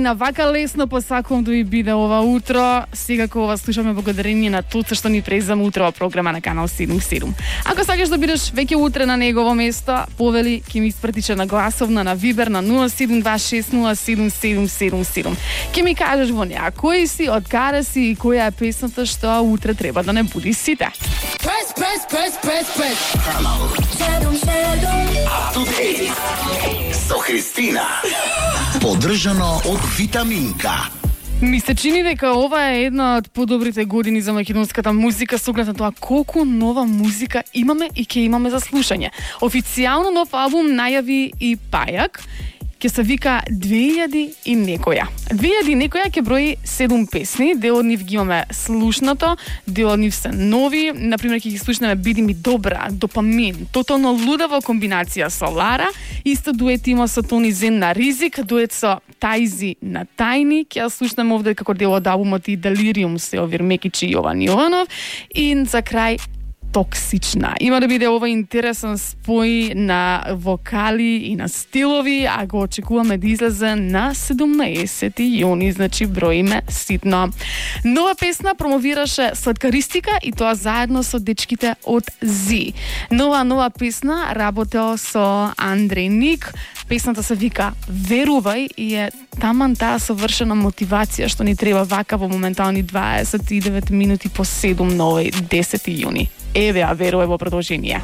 на вака лесно посакувам да ви биде ова утро. Секако ова слушаме благодарение на тоа што ни презаме утрова програма на Канал 77. Ако сакаш да бидеш веќе утре на негово место, повели ќе ми испратиш на гласовна на Вибер на 0726077777. Ќе ми кажеш во неа кој си, од каде си и која е песната што утре треба да не буди сите. Press. Канал 77. Со Христина. Поддржано од Витаминка. Ми се чини дека ова е една од подобрите години за македонската музика, со оглед на тоа колку нова музика имаме и ќе имаме за слушање. Официјално нов албум најави и Пајак, ќе се вика 2000 и некоја. 2000 и некоја ќе брои 7 песни, дел од нив ги имаме слушнато, дел од нив се нови, например ќе ги слушнеме Биди ми добра, Допамин, тотално лудава комбинација со Лара, исто дует има со Тони Зен на Ризик, дует со Тајзи на Тајни, ќе ја слушнеме овде како дел од албумот и Делириум се Овир Мекичи и Јован Јованов, и за крај Токсична. Има да биде ова интересен спој на вокали и на стилови, а го очекуваме да излезе на 17 јуни, значи броиме ситно. Нова песна промовираше сладкаристика и тоа заедно со дечките од Зи. Нова песна работел со Андреј Ник. Песната се вика Верувај и е таман таа совршена мотивација што ни треба вака во моментални 29 минути по 7 на овој 10 јуни. Еве, а верувај во продолжение.